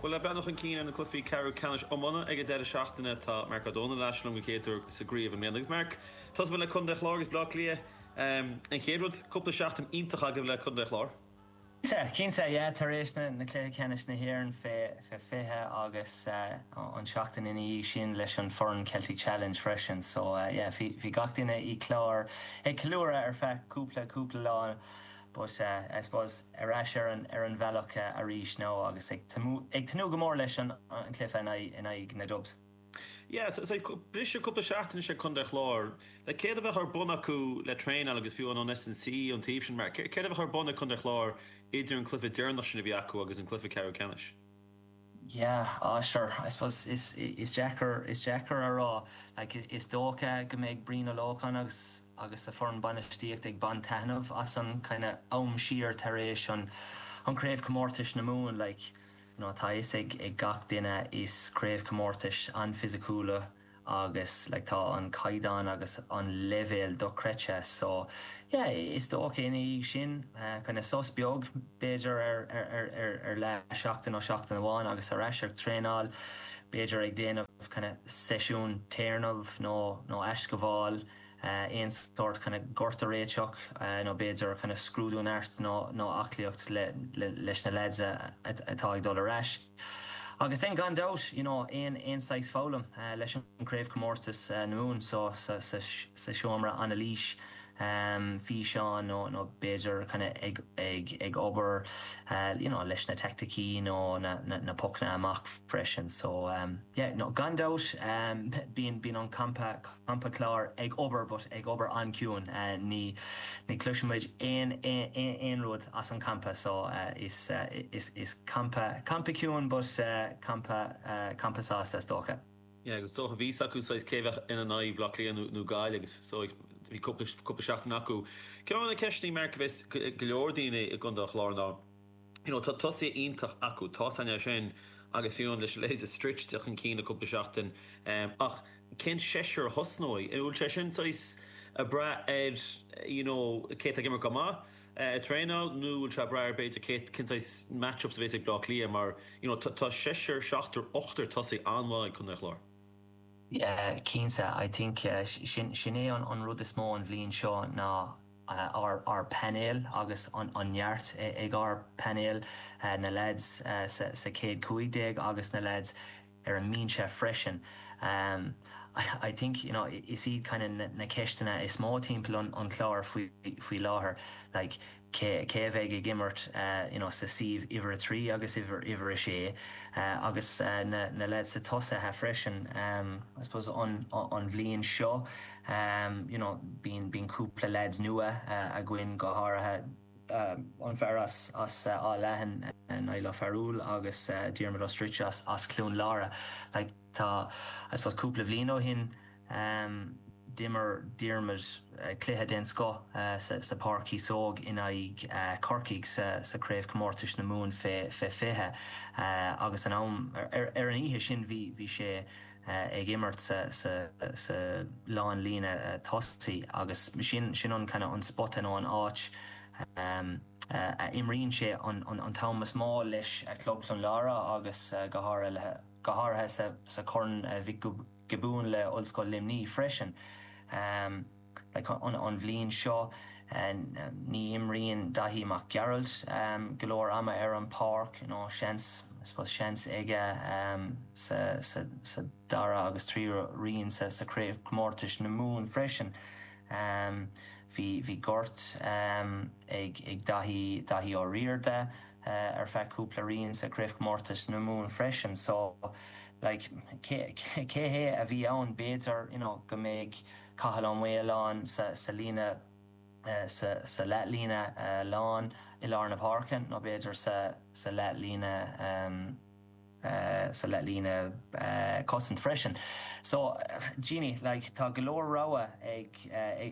Bhuel, le breathnú chun cinn ar na cluichí ceathrú ceannais iomána ag an deireadh seachtaine, tá Marc Ó Dónaill ar ais liom den chéad uair sa gcraobh i mbliana. Agus Marc, tosóidh muid le Contae an Chláir agus Baile Átha Cliath. An chéad rud, cúpla seachtain iontach agaibh le Contae an Chláir. Cinnte, cinnte, yeah, tar éis na cluiche ceannais na hÉireann fé 20 agus an seachtain ina dhiaidh sin leis an foireann Celtic Challenge freisin so yeah, bhí bhí gach duine i Clár ag ceiliúradh ar feadh cúpla cúpla lá but I suppose ar ais ar an ar an bhealach arís now agus ag ag tnúth go mór leis an an cluiche in aghaidh in aghaidh na Dubs. Yeah, so briseadh cúpla seachtain anois ag Contae an Chláir. Like, céard a bheadh ar bun acu le traenáil agus fiú an S&C ón taobh sin, mar céard a bheadh ar bun ag Contae an Chláir idir an cluiche deireanach sin a bhí acu agus an cluiche ceathrú ceannais? Yeah, ah sure, I suppose is is deacair is deacair a rá. Like, is dócha go mbeidh Brian Ó Lócháin agus agus a foireann bainistíochta ag baint taitneamh as an kind of am siar tar éis an an craobhchomórtais na Mumhan, like, You know tá a fhios ag ag gach duine is craobhchomórtais an-fhisiciúla agus like tá an caighdeán agus an leibhéal dochreidte so yeah is dócha ina dhiaidh sin kind of sos beag b'fhéidir ar ar ar ar ar leath seachtain nó seachtain amháin agus ar ais ag traenáil b'fhéidir ag déanamh kind of seisiún téarnaimh nó nó aisghabháil aon sórt kind of gort a réiteach nó b'fhéidir kind of scrúdú neart nó nó aclaíocht le leis na lads atá ag dul ar ais. Agus then gan dabht you know aon aon saghas foghlaim leis an craobhchomórtas na Mumhan so sa sa sa seomra anailís físeán nó nó b'fhéidir kind of ag ag ag obair you know leis na teaicticí nó na na na pocanna amach freisin so yeah no gan dabht bíonn bíonn an campa Campa Clár ag obair but ag obair an-ciúin. Ní ní chloisimid aon aon rud as an campa so is is is campa campa ciúin but campa campa sásta is dócha. Yeah agus is dócha bhí fhios acu saghas cé a bheadh ina n-aghaidh, Baile Átha Cliath nó nó Gaillimh agus so bhí cúpla cúpla seachtain acu. Ceann de na ceisteanna Mark a bheas go leor daoine i gContae an Chláir ná you know tá tosaithe iontach acu, tá a fhios againn é sin agus fiú leis an leithéid de Stritch teacht chun cinn le cúpla seachtain ach cén seisear a thosnóidh? An bhfuil sé sin saghas ag brath ar you know cé atá ag imirt go maith ag traenáil nó bhfuil sé ag brath ar b'fhéidir cé cén saghas match-ups a bhéas ag Bleá Cliath mar you know tá seisear, seachtar, ochtar tosaí an-mhaith ag Contae an Chláir. Yeah, cinnte. I think sin sin é an rud is mó an bhliain seo ná ár ár bpainéal agus an an neart ag ár bpainéal, na lads sa sa chéad 15 agus na lads ar an mbinse freisin. I think, you know, is iad kind of na ceisteanna is mó timpeall an an Chláir faoi faoi láthair, like cé cé a bheidh ag imirt you know sa suíomh uimhir a 3 agus uimhir uimhir a 6 agus na na lads sa tosaithe freisin. I suppose an an bhliain seo you know bíonn bíonn cúpla lads nua againn go háirithe an fear as Áth Leathain, Niall Ó Fearúil agus Diarmuid Ó Stritch as Cluain Lára. Like tá, I suppose cúpla bhliain ó shin d'imir Diarmuid cluiche den scoth sa Páirc Chíosóg in aghaidh Corcaigh sa Craobhchomórtais na Mumhan fé 20 agus an am ar an oíche sin bhí bhí sé ag imirt sa lánlíne tosaigh agus sin sin an kind of an spota nó an áit a imríonn sé an t-am is mó leis Club Clonlara agus go háirithe go háirithe sa Chorn Mhic Giobúin le Ollscoil Luimnigh freisin. Like an bhliain seo ní imríonn Daithí Mac Gearailt go leor ama ar an pháirc, you know seans, I suppose seans aige sa sa sa dara agus tríú roinn sa sa Craobhchomórtais na Mumhan freisin. Bhí bhí gort ag ag Daithí Daithí Ó Riada ar feadh cúpla roinn sa Craobhchomórtais na Mumhan freisin so like cé cé hé a bhí ann b'fhéidir you know go mbeidh Cathal Ó Maoláin sa líne sa leathlíne lán i lár na páirce nó b'fhéidir sa leathlíne sa leathlíne cosaint freisin. So Jeannie, like tá go leor rogha ag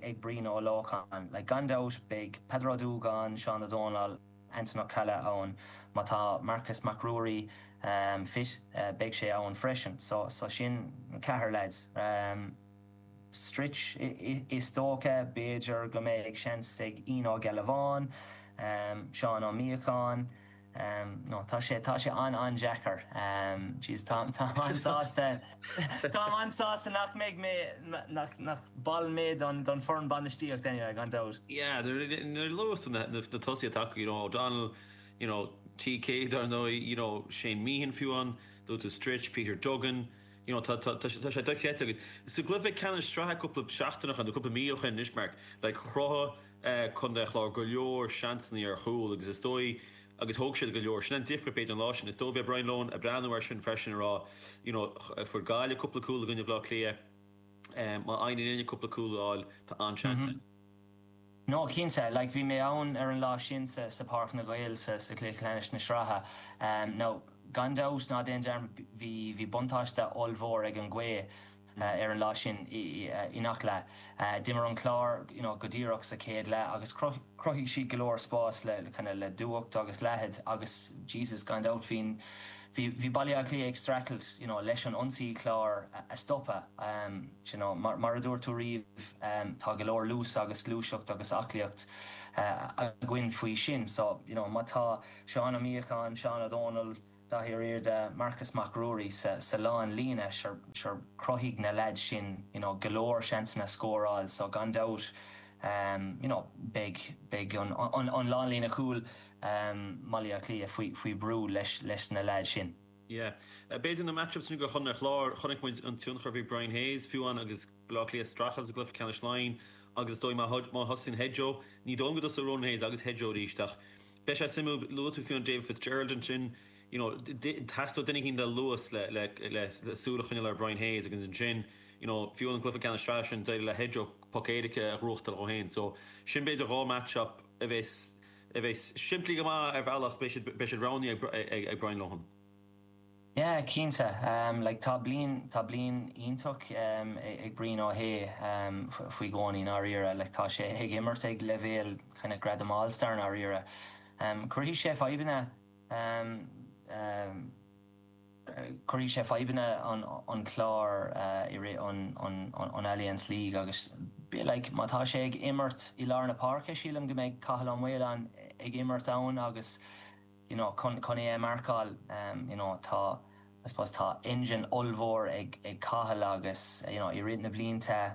ag Brian Ó Lócháin. Like gan dabht beidh Peadar Ó Dúgáin, Seán Ó Dónaill, Anton Ó Ceallaigh ann. Má tá Marcus Mac Ruairí fit beidh sé ann freisin. So so sin ceathrar lads. Stritch, Is dócha, b'fhéidir go mbeidh seans ag Ian Ó Gealbháin, Seán Ó Míocháin. No, tá sé, tá sé an-an-deacair. Jeez, táim, táim an-sásta, táim an-sásta nach mbeidh mé, nach, nach ball mé don, don foireann bainistíocht anyway, gan dabht. Yeah, nuair a luaigh tú na, na tosaithe atá acu, you know, O'Donnell, you know, TK dar ndóigh, you know, Shane Meehan fiú amháin, luaigh tú Stritch, Peter Duggan, you know, tá, tá, tá sé dochreidte agus sa gcluiche ceannais sraithe cúpla seachtain ó shin, nó cúpla mí ó shin anois, Mark, like, chruthaigh Contae an Chláir go leor seansanna ar chúl agus is dóigh agus thóg siad go leor. Sin an difríocht b'fhéidir an lá sin. Is dóigh beidh Brian Lohan ag breathnú air sin freisin ag rá you know fuair Gaillimh cúpla cúl i gcoinne Bhaile Átha Cliath, má fhaigheann linne cúpla cúl a fháil tá an-seans ann. No, cinnte. Like bhí mé ann ar an lá sin sa sa Páirc na nGael sa sa chluiche ceannais na sraithe. Now gan dabht ná déan dearmad bhí bhí buntáiste ollmhór ag an ghaoth. ar an lá sin i ngach leath. D'imir an Clár you know go díreach sa chéad leath agus chruthaigh siad go leor spás le kind of le dúthacht agus leithead agus Jesus gan dabht bhí bhí Baile Átha Cliath ag streachailt you know leis an ionsaí Clár a stopadh. You know mar mar a dúirt tú riamh tá go leor luas agus gluaiseacht agus aclaíocht againn faoi sin so you know má tá Seán Ó Míocháin, Seán Ó Dónaill, Daithí Ó Riada, Marcus Mac Ruairí sa lán líne, sure sure chruthaigh na leaids sin you know go leor seansanna scóráil so gan dabht you know beidh beidh an an an lán líne chúil mBaile Átha Cliath faoi faoi brú leis leis na leaids sin. Yeah. B'fhéidir na matchups sin do Chontae an Chláir, chonaic muid an tionchar a bhí Brian Hayes fiú amháin agus Baile Átha Cliath ag streachailt sa gcluiche ceannais Laighean agus is dóigh má má thosaíonn Hedjo, ní dóigh liom go dtosóidh Ronan Hayes agus Hedjo arís ach Beidh sé suimiúil, luaigh tú fiú an David Fitzgerald ansin, you know, theastódh duine éicint le luas le, le, le, le súil a choinneáil ar Brian Hayes agus ansin, you know, fiú an cluiche ceannais sraithe sin, d'éirigh le Hedjo poc éirice a ghnóthachtáil dhó féin. So, sin b'fhéidir dhá match-up a bheas, a bheas simplí go maith ar bhealach, beidh siad, beidh siad roghnaithe ag, ag, ag Brian Lohan. Yeah, cinnte. Like tá bliain, tá bliain iontach ag Brian Ó hAodha faoi gcónaí, i ndáiríre. Like tá sé ag imirt ag leibhéal kind of gradam All-Star i ndáiríre. Cuirfidh sé fadhbanna, cuirfidh sé fadhbanna an Clár i rith an, an, an Allianz League agus like má tá sé ag imirt i lár na páirce, sílim go mbeidh Cathal Ó Maoláin ag imirt ann agus, you know chun chun é a mharcáil you know tá I suppose tá engine ollmhór ag ag Cathal agus you know i rith na blianta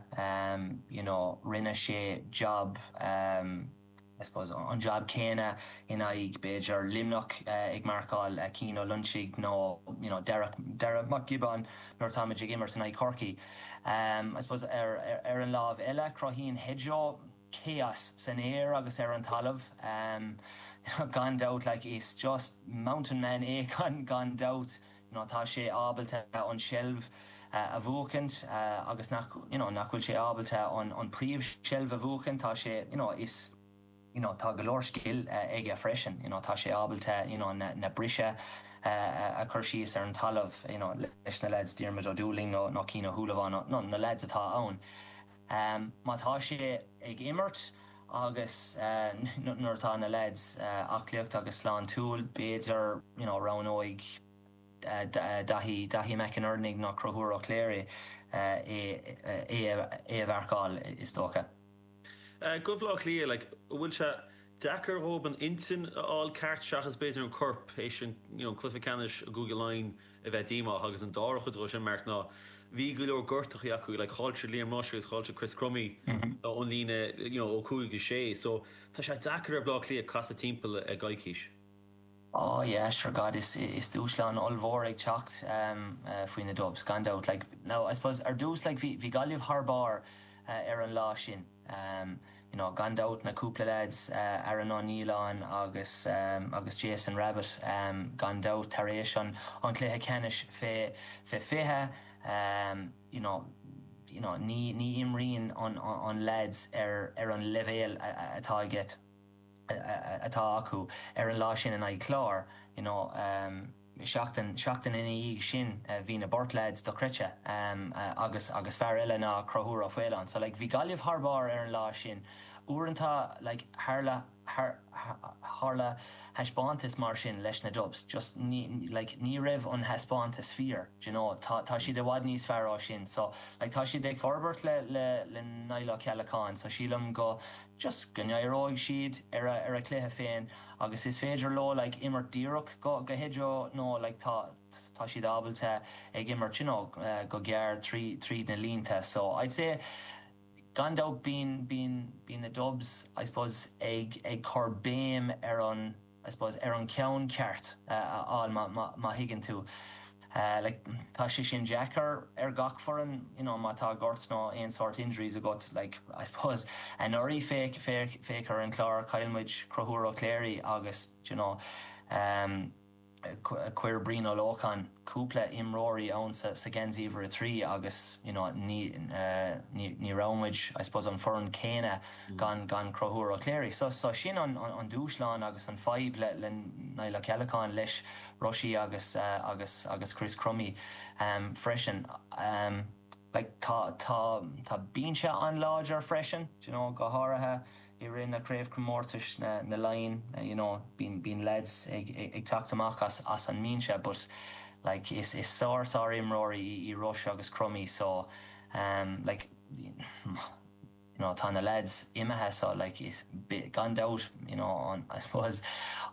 you know rinne sé job I suppose an job céanna in aghaidh b'fhéidir Luimneach ag marcáil Cian Ó Loinsigh nó you know Darragh Darragh Mac Giobáin nuair atáimid ag imirt in aghaidh Chorcaí. I suppose ar ar an lámh eile cruthaíonn Hedjo chaos san aer agus ar an talamh gan dabht like is just mountain man é gan gan dabht you know tá sé ábalta an seilbh a bhuachaint agus nach you know nach bhfuil sé ábalta an an príomh seilbh a bhuachaint tá sé you know is you know tá go leor scil aige freisin you know tá sé ábalta you know na na briseadh a chur síos ar an talamh you know leis na lads Diarmuid Ó Dúlaing nó nó Cian Ó Shúilleabháin nó na lads atá ann. Má tá sé ag imirt agus nuair atá na leaids aclaíocht agus sláintiúil, b'fhéidir you know roghnóidh Daithí, Daithí McInerney nó Conchúr Ó Cléirigh é é a mharcáil is dócha. Do Bhaile Átha Cliath, like, an bhfuil sé deacair dhóibh an intinn a fháil ceart seachas b'fhéidir an corp théis an you know cluiche ceannais i gCúige Laighean a bheith díomách agus an dara chuid dhó sin Mark ná bhí go leor gortachaí acu like chaill siad Liam Rushe agus chaill siad Chris Crummey ón líne you know ó 5 go 6 so tá sé deacair ar Bhaile Átha Cliath casadh timpeall i gcoicís. Oh yeah sure God is is dúshlán ollmhór ag teacht faoi na Dubs gan dabht like now I suppose ar dtús like bhí bhí Gaillimh thar barr ar an lá sin. You know, gan dabht na cúpla lads, Aaron Ó Nialláin agus agus Jason Rabbitte, gan dabht tar éis an an cluiche ceannais fé fé 20, you know, you know, ní ní imríonn an an lads ar ar an leibhéal atá aige atá acu ar an lá sin in aghaidh Clár, you know. Seachtain, seachtain ina dhiaidh sin bhí na beirt lads dochreidte agus, agus fear eile ná Conchúr Ó Faoláin. So like bhí Gaillimh thar barr ar an lá sin. Uaireanta like tharla tharla thaispeántas mar sin leis na Dubs just ní like ní raibh an thaispeántas fíor do you know tá tá siad i bhfad níos fearr ná sin so like tá siad ag forbairt le le le Niall Ó Ceallacháin so sílim go just go n-éireoidh siad ar a ar a cluiche féin agus is féidir leo like imirt díreach go go Hedro nó like tá tá siad ábalta ag imirt you know go gearr trí tríd na línte so I'd say Gan dabht bíonn, bíonn, bíonn na Dubs, I suppose, ag, ag cur béim ar an, I suppose, ar an ceann ceart a fháil má, má, má thuigeann tú. Like, tá sé sin deacair ar gach foireann, you know, má tá gort nó aon sórt injuries agat, like, I suppose, anuraidh féach, féach, féach ar an Chlár, chaill muid Conchúr Ó Cléirigh agus, do you know, um, Chuir Brian Ó Lócháin cúpla imreoirí ann sa geansaí uimhir 3 agus you know ní ní raibh muid I suppose an foireann céanna gan gan Conchúr Ó Cléirigh. So so sin an an dúshlán agus an fadhb le le Niall Ó Ceallacháin leis Rushy agus agus agus Chris Crummey freisin. Like tá tá tá binse an-láidir freisin, do you know, go háirithe i rith na craobhchomórtais na na Laighin you know bíonn bíonn lads ag ag teacht amach as as an mbinse but like is is sár sár imreoirí í Rush agus Crummey so um like you know tá na lads imithe so like is gan dabht you know an I suppose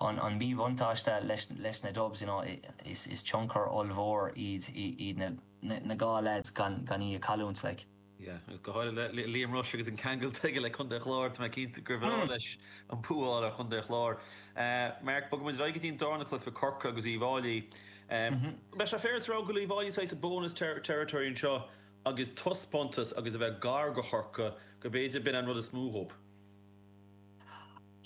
an an míbhuntáiste leis leis na Dubs you know is is tionchar ollmhór iad iad na na na dhá lads gan gan í a chailliúint like. Yeah, agus go háirithe le Liam Rushe agus an ceangal atá aige le Contae an Chláir, tá mé cinnte gur bhreá leis an bua a fháil ar Chontae an Chláir. Mark, bogfaidh muid ar aghaidh go dtí an darna cluiche, Corcaigh agus Uíbh Fháilí. Beidh sé féaráilte a rá go bhfuil Uíbh Fháilí saghas i bonus territory anseo agus taispeántas agus a bheith gar do Chorcaigh, go b'fhéidir b'in an rud is mó dhóibh.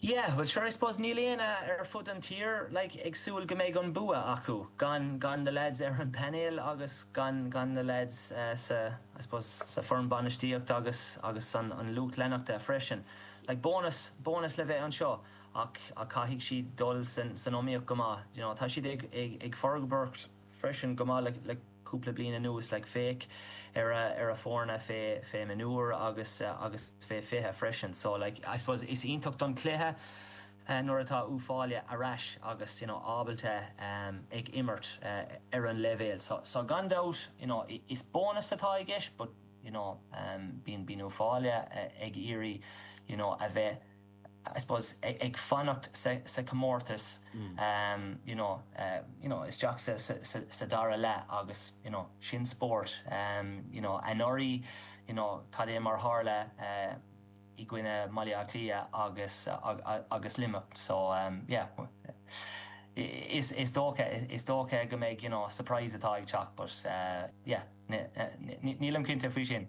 Yeah, well sure I suppose níl éinne ar fud an tír like ag súil go mbeidh an bua acu gan gan na lads ar an painéal agus gan gan na lads sa I suppose sa foireann bainistíocht agus agus an an lucht leanachta freisin. Like bónas bónas le bheith anseo ach ach caithfidh siad dul san san iomaíocht go maith you know tá siad ag ag ag forbairt freisin go maith le le cúpla bliain anuas like féach ar a ar a foirne fé fé mionúir agus agus fé 20 freisin so like I suppose is iontach don cluiche nuair atá Uíbh Fhailí ar ais agus you know ábalta ag imirt ar an leibhéal so so gan dabht you know is bónas atá i gceist but you know bíonn bíonn Uíbh Fhailí ag iarraidh you know a bheith I suppose, ag fanacht sa chomórtas you know, you know, isteach sa, sa, sa dara leath agus, you know, sin spórt, you know, anuraidh, you know, cad é mar tharla i gcoinne Bhaile Átha Cliath agus, agus Luimneach so, yeah, is, is dócha, is dócha go mbeidh, you know, surprise atá ag teacht but, yeah, nílim cinnte faoi sin.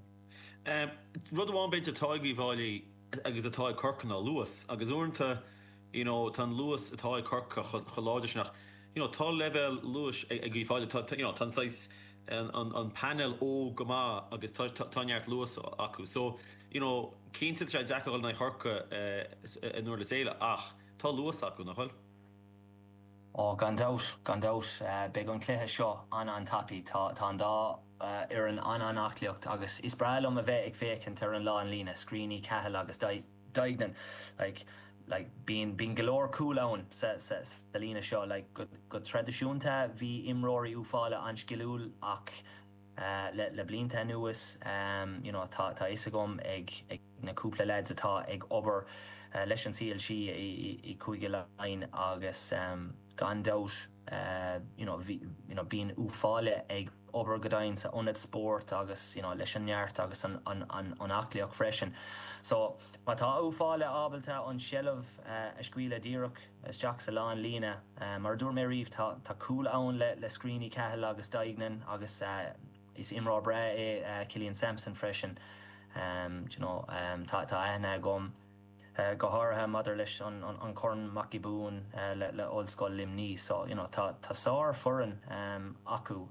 Rud amháin b'fhéidir atá ag Uíbh Fhailí agus atá ag Corcaigh ná luas agus uaireanta you know tá an luas atá ag Corcaigh chomh láidir sin ach you know tá leibhéal luais ag Uíbh Fhailí tá you know tá an saghas an an painéal óg go maith agus tá tá neart luas acu so you know cinnte tá sé deacair dul in aghaidh Chorcaí i nDurlas Éile ach tá luas acu nach bhfuil? Ó gan dabht, gan dabht beidh an cluiche seo an-an-tapaidh tá tá an dá fhoireann an-an-aclaíocht agus is breá liom a bheith ag féachaint ar an lánlíne, Screeney, Cahill agus Duignan. Like, like, bíonn, bíonn go leor cúl ann sa, sa, sa líne seo. Like, go, go traidisiúnta bhí imreoirí Uíbh Fhailí an-sciliúil ach le, le blianta anuas, you know, tá, tá fhios agam ag, ag na cúpla lads atá ag obair leis an CLG i, i, i Cúige Laighean agus gan dabht, you know, bhí, you know, bíonn Uíbh Fhailí ag obair go dian sa ionad spóirt agus you know leis an neart agus an an an an aclaíocht freisin. So má tá Uíbh Fhailí ábalta an seilbh a scaoileadh díreach isteach sa lánlíne, mar a dúirt mé riamh tá tá cúl ann le le Screeney, Cahill agus Duignan agus is imreoir breá é Killian Sampson freisin. Do you know tá tá aithne agam. go háirithe maidir leis an Chorn Mac Giobúin le Ollscoil Luimnigh. So, you know, tá tá sár-fhoireann acu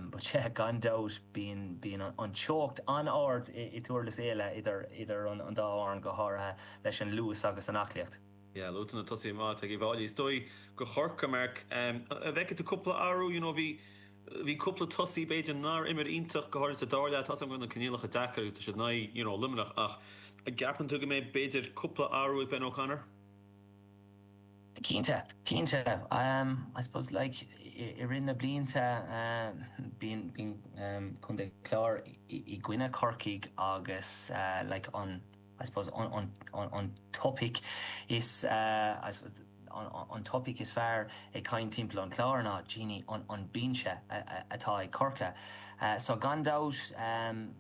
but yeah, gan dabht bíonn bíonn an teocht an-ard i Durlas Éile idir idir an dá fhoireann go háirithe leis an luas agus an aclaíocht. Yeah, luaigh tú na tosaithe maith atá ag Uíbh Fhailí. Is dóigh do Chorcaigh, Mark, an bhfeicfidh tú cúpla athrú, you know, bhí Bhí cúpla tosaí b'fhéidir nár imir iontach, go háirithe sa dara leath. Tá a fhios agam go bhfuil na coinníollacha deacair agus tá siad in aghaidh, you know, Luimneach ach An gceapann tú go mbeidh b'fhéidir cúpla athrú ag Ben O'Connor? Cinnte, cinnte. I suppose like i rith na blianta bíonn bíonn Contae Chláir i gcoinne Corcaigh agus like an I suppose an an topaic is an topaic is fearr ag caint timpeall an Chláir ná Jeannie an an binse atá ag Corcaigh. So gan dabht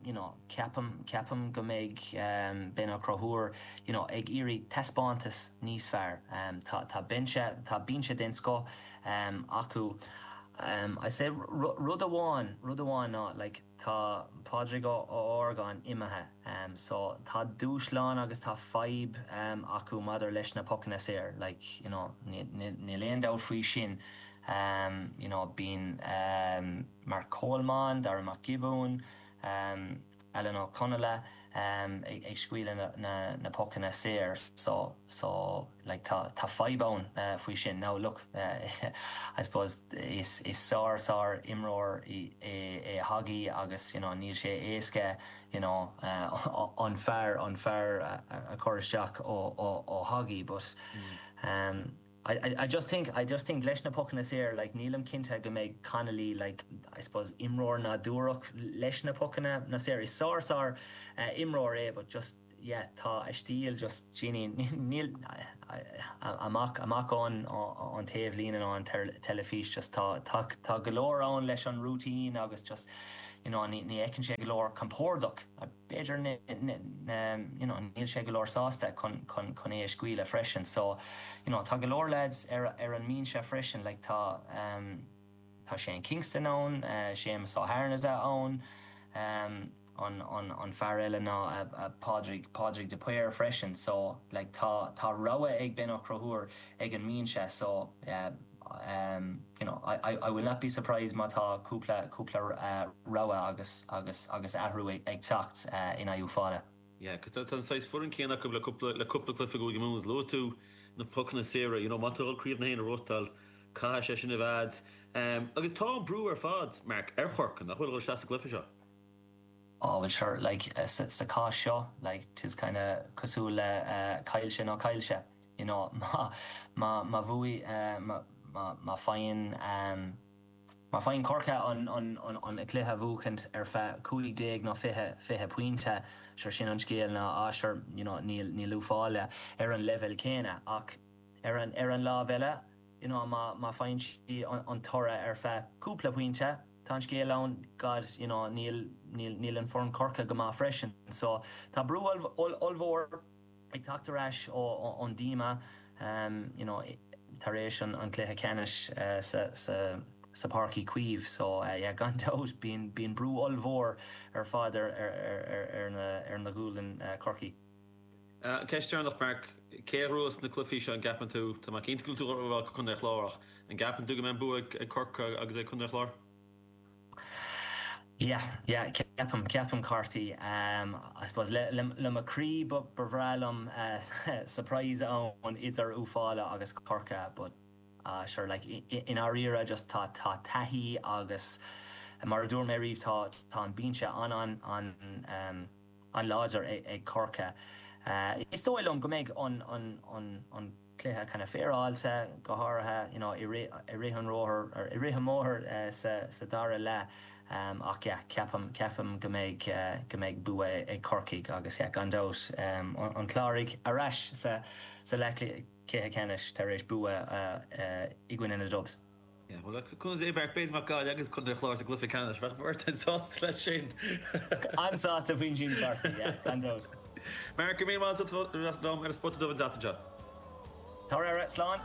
you know ceapaim ceapaim go mbeidh Ben Ó Conchúir you know ag iarraidh taispeántas níos fearr. Tá tá binse tá binse den scoth acu. I say rud amháin rud amháin ná like Tá Pádraig Ó hArgáin imithe so tá dúshlán agus tá fadhb acu maidir leis na pocanna saor like you know níl aon dabht faoi sin you know bíonn Mark Coleman, Darragh Mac Giobúin, Alan Ó Conaola ag scaoileadh na pocanna saor so so like tá tá fadhb ann faoi sin. Now look I suppose is is sár sár imreoir é Hoggy agus you know níl sé éasca you know an fear an fear a chur isteach ó ó ó Hoggy but I I just think I just think leis na pocanna saor like nílim cinnte go mbeidh Connolly like I suppose imreoir nádúrach leis na pocanna na saor. Is sár sár imreoir é but just yeah tá a stíl just Jeannie níl amach amach ón an taobh líne nó an teilifís just tá tá tá go leor ann leis an routine agus just you know ní ní fheiceann sé go leor compordach b'fhéidir you know níl sé go leor sásta chun chun chun é a scaoileadh freisin so you know tá go leor lads ar ar an mbinse freisin like tá um tá Shane Kingston ann Séamus Ó hAirneada ann um an fear eile ná Pádraig, Pádraig de Paor freisin so like tá, tá rogha ag Ben Ó Conchúir ag an mbinse so you know I, I will not be surprised má tá cúpla, cúpla rogha agus, agus, agus athrú ag teacht in aghaidh Uíbh Fhailí. Yeah, cos tá an saghas foireann céanna acu le cúpla, le cúpla cluiche i gCúige Mumhan agus luaigh tú na pocanna saora, you know má tá tú ag dul Craobh na hÉireann a bhuachtáil, caithfidh sé sin a bheith a'd. Agus tá an brú ar fad, Mark, ar Chorcaigh, nach bhfuil, a dhul isteach sa gcluiche seo? Oh well sure like sa cás seo like 'tis kinda cosúil le caillse nó caillse you know má má má bhuaigh má má má faigheann má faigheann Corcaigh an an an an cluiche a bhuachaint ar feadh 15 nó 20 20 pointe sure sin an scéal ná ah sure you know níl níl Uíbh Fhailí ar an leibhéal céanna ach ar an ar an lámh eile you know má má faigheann sí an toradh ar feadh cúpla pointe Tá an scéal ann, God, you know, níl, níl, níl an foireann Corcaigh go maith freisin. So, tá brú ollmhór ag teacht ar ais ó, ón díomá, you know, tar éis an, an cluiche ceannais sa, sa, sa Páirc Uí Chaoimh. So, yeah, gan dabht, bíonn, bíonn brú ollmhór ar fad ar, ar, ar, ar na, ar na gualainn Corcaigh. Ceist deireanach, Mark, cé a ghnóthós na cluichí seo, an gceapann tú? Tá mé cinnte go bhfuil tú ag rá Contae an Chláir ach an gceapann tú go mbeidh an bua ag Corcaigh agus ag Contae an Chláir? Yeah, yeah, ceapaim, ceapaim Carty. I suppose le, le, le mo chroí ba, ba bhreá liom surprise ann idir Uíbh Fhailí agus Corcaigh but ah sure like i, i ndáiríre just tá, tá taithí agus mar a dúirt mé riamh tá, tá an binse an, an, an, um, an-láidir ag Corcaigh. Is dóigh liom go mbeidh an cluiche kind of féaráilte, go háirithe you know i rith an róthair, or i rith an mbóthair sa dara leath ach yeah ceapaim ceapaim go mbeidh go mbeidh bua ag Corcaigh agus yeah gan dabht an Cláraigh ar ais sa sa leathchluiche ceannais tar éis bua i gcoinne na Dubs. Yeah, well, conas é Mark, b'fhéidir mbeadh Gaillimh agus Contae an Chláir sa gcluiche ceannais, bheadh beirt an-sásta leis sin. An-sásta faoin sin, Carty, yeah, gan dabht. Mark, go raibh míle maith agat as ucht a bheith liom ar an Spota Dubh an tseachtain seo. Tá aire, slán!